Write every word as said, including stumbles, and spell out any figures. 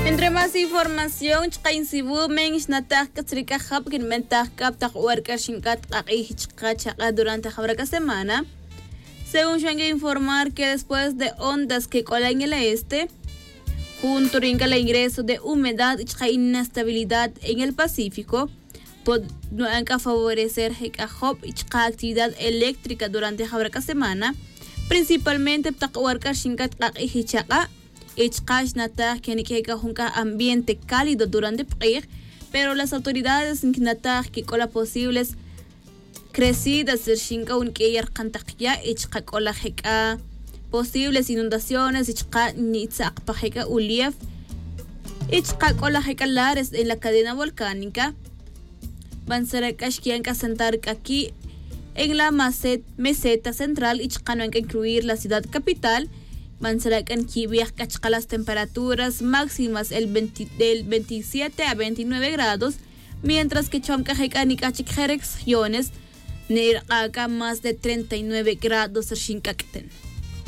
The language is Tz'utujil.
Entre más información chka' insibumen xnataj c'a tzri c'a jab quinbentaj c'a ptak ora c'a rxin c'a tk'ak'ij chka' chak'a durante jawra c'a semana. Según xan que informar que después de ondas que c'ola en el este, junto rin c'a la ingreso de humedad y chka' inestabilidad en el pacífico, podnu'an c'a favorecer je c'a job y chka' actividad eléctrica durante jawra c'a semana, principalmente ptak ora c'a rxin c'a tk'ak'ij y chak'a'. Y chka' xnataj que niq'ue c'a jun c'a ambiente cálido durante pk'ij, pero las autoridades nquinataj que c'o la posibles crecidas rxin c'a jun q'uiya rkan tak ya' y chka' c'o la je c'a posibles inundaciones y chka' nitzak pa je c'a ulief y chka' c'o la je c'a lares en la cadena volcánica. Bantzara c'a xquian c'a sentar c'a qui' en la meseta central y chka' nuan c'a incluir la ciudad capital. Bantzara c'a nquibij c'a chka' las temperaturas máximas el veintisiete a veintinueve grados, mientras que chom c'a je c'a nic'a chic je regiones nirk'a' c'a más de treinta y nueve grados rxin c'a q'uiten.